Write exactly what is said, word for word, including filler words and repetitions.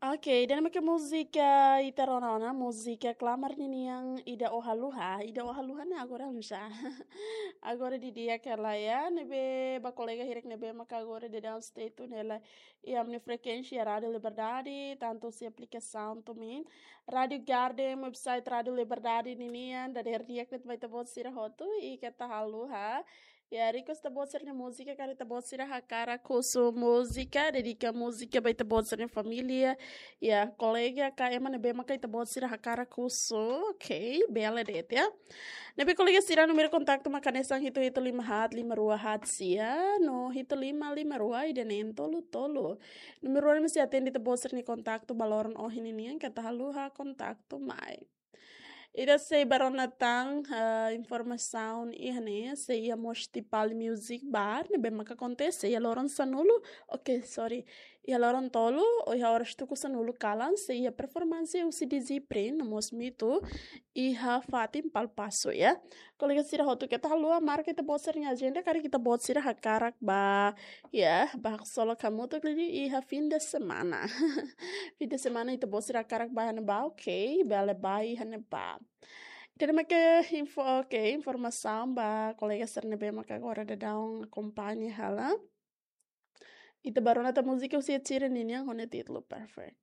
Ok, ida-ne'e mak múzika ita rona ona, múzika Klamar ninian Ida Ó Haluha, Ida Ó Haluha ne'e agora já. Agora didi'ak hela ya, ne'ebé ba kolega hirak ne'ebé maka agora downstage tun hela iha ami-nia frekuénsia Rádiu Liberdade, tantu husi aplikasaun tumin. Rádiu Garden, website Rádiu Liberdade ninian, dadeer di'ak de'it ba ita-boot sira hotu, i keta haluha. Ya, request ita-boot sira-nia múzika, karik ita-boot sira hakarak husu múzika, dedika múzika ba ita-boot sira-nia família, ya, kolega ka ema ne'ebé maka ita-boot sira hakarak husu, ok, bele de'it ya. Ne'ebé kolega sira, númeru kontaktu mak hanesan hitu hitu lima haat lima rua haat sia, no hitu lima lima rua ida neen tolu tolu. Númeru ne'e mesti atende ita-boot sira-nia kontaktu ba loron ohin ninian, keta haluha kontaktu mai. Ida sei ba rona tan, eh, informasaun iha ne'e, sei iha Mostipal Music Bar, ne'ebé maka akontese iha loron sanulu, ok, sorry, iha loron tolu, ou iha oras tuku sanulu kalan, sei iha performansi husi D J Prin, no mós Mitu, iha fatin Palpaso ya. Kolega sira hotu keta haluha marka ita-boot sira-nia ajenda, karik ita-boot sira hakarak ba, ya, ba haksolok hamutuk liu iha fim de semana. Fim de semana ita-boot sira hakarak ba iha ne'ebá, ok, bele ba iha ne'ebá. Ida-ne'e mak info, ok, informasaun ba kolega sira ne'ebé maka agora daudaun akompaña hela. Ita ba rona tan múzika husi Ed Sheeran ninian ho nia títulu Perfect.